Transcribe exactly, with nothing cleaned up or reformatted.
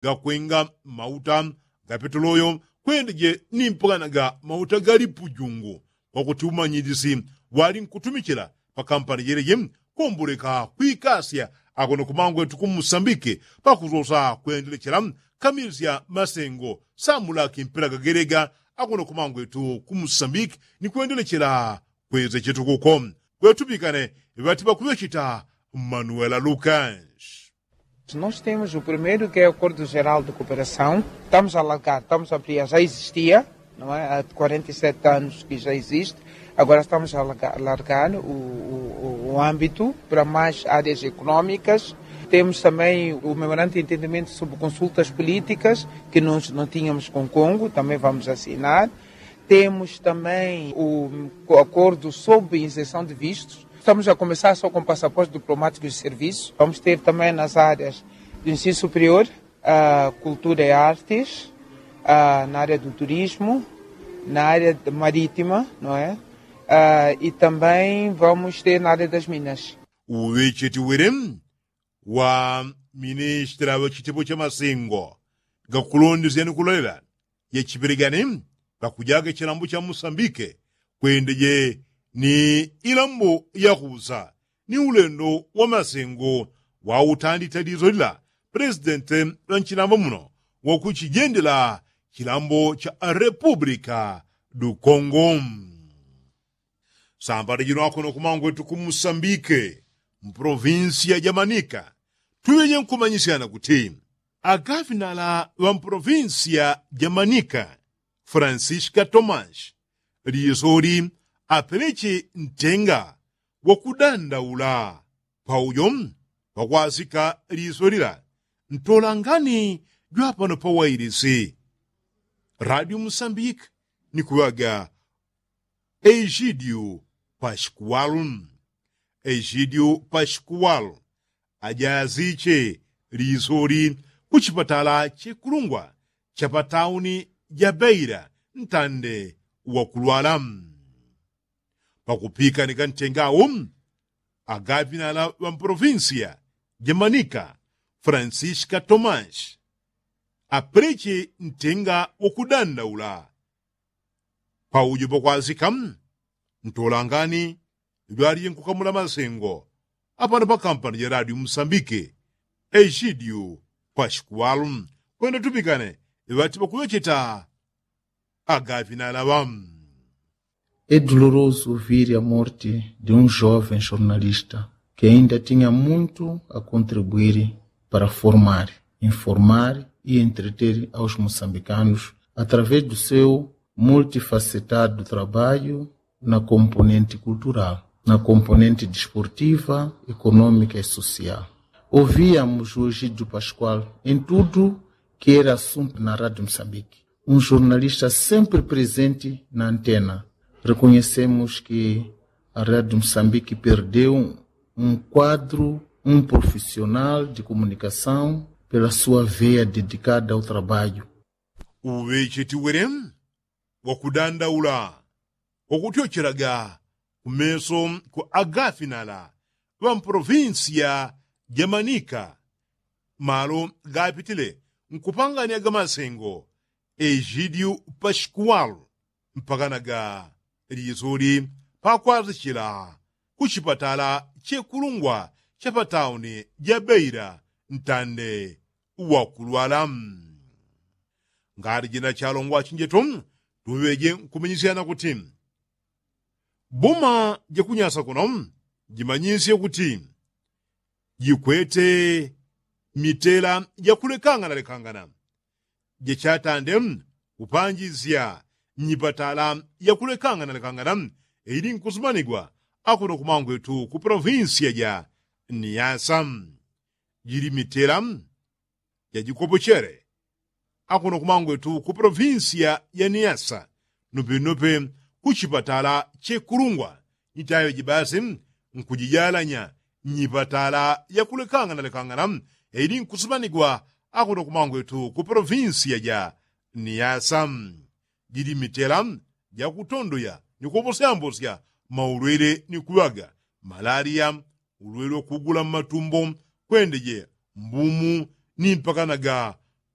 gakwenga mauta ga petoloyo kwendeje ni mpagana ga mauta ga lipujungu. Kwakuti umanyilisi wali nkutumichila pa kampani jeleje komboleka kwikasya akono kumangwetu kumusambike pakusosa kwendelechela kamilisya masengo samulaki mpela gagelega akono kumangwetu kumusambike ni kwendelechela kweze chetukuko. Kwetupikane ŵati ŵakuŵechita manuela lukas. Nós temos o primeiro que é acordo geral de cooperação. Estamos a alargar, estamos a ampliar, já existia, não é? Há quarenta e sete anos que já existe. Agora estamos a alargar o âmbito para mais áreas económicas. Temos também o memorando de entendimento sobre consultas políticas que nós não tínhamos com congo, também vamos assinar. Temos também o acordo sobre inserção de vistos. Estamos a começar só com passaportes diplomáticos de serviço. Vamos ter também nas áreas do ensino superior, cultura e artes, na área do turismo, na área marítima, não é? E também vamos ter na área das minas. Uŵecheti wele wa ministra wa chitepo cha masengo gakulondesya ni kulolela ya chipelegani pakujaga chilambo cha musambike kwendeje ni ilambo yakusa ni ulendo wa masengo wa utandita liso lila. Presidente wa nchilambo muno wakuchijendela chilambo cha republika du kongo. Sambala jino akono kumangwetu kumusambike mprovinsiya ja manika tuŵeje nkumanyisyana kuti agafinala ŵa mprovinsiya ja manika francisca tomas lisoli apeleche ntenga wakudandaula paujo pakwasika lisoli la ntolangani jwapano pawailisi radio musambike ni kuŵaga ejidiu pasikuwalu. Ejidiu pasikuwalu ajaziche lisoli kuchipatala chekulungwa chapatauni jabeila ntande wakulwala. Pakupikanika ntengawo agafinala ŵa mprovinsiya jamanika francisca tomas apeleche ntenga wakudandaula paujo pakwasika ntolangani jwalije nkukamula masengo apano pakampani ja radio musambike ejidiu pasikuwalu. Kwenda tupikane ŵati ŵakuŵecheta agafinala ŵa é doloroso ouvir a morte de um jovem jornalista que ainda tinha muito a contribuir para formar, informar e entreter aos moçambicanos através do seu multifacetado trabalho na componente cultural, na componente desportiva, econômica e social. Ouvíamos o Egídio Pascoal em tudo que era assunto na Rádio Moçambique. Um jornalista sempre presente na antena. Reconhecemos que a Rádio Moçambique perdeu um quadro, um profissional de comunicação pela sua veia dedicada ao trabalho. Uŵecheti wele wakudandaula wakutyochelaga kumeso ku agafinala ŵa mprovinsiya jamanika malo gapitile nkupangania gamasengo ejidiu pasikuwalu mpakanaga lisoli pakwasichila kuchipatala chekulungwa chapatauni jabeila ntande wakulwala. Ngati jina chalongwa chinjeto tuŵeje nkumanyisyana kuti boma jakunyasa kuno jimanyisye kuti jikwete mitela jakulekangana lekangana jachatande kupanjisya nyipatala yakulekangana lekangana ili nkusumanigwa akuno kumangwetu ku provinsiya ja niyasa. Jili mitela jajikopochele akuno kumangwetu ku provinsiya ja niyasa nupenope kuchipatala chekulungwa nitayo jibasi nkujijalanya nyipatala yakulekangana lekangana ili nkusumanigwa akuno kumangwetu ku provinsiya ja niyasa. Jili mitela jakutondoya ni kuposyambosya maulwele ni kuŵaga malaliya ulwele wakugula mmatumbo kwendeje mbumu ni mpakanaga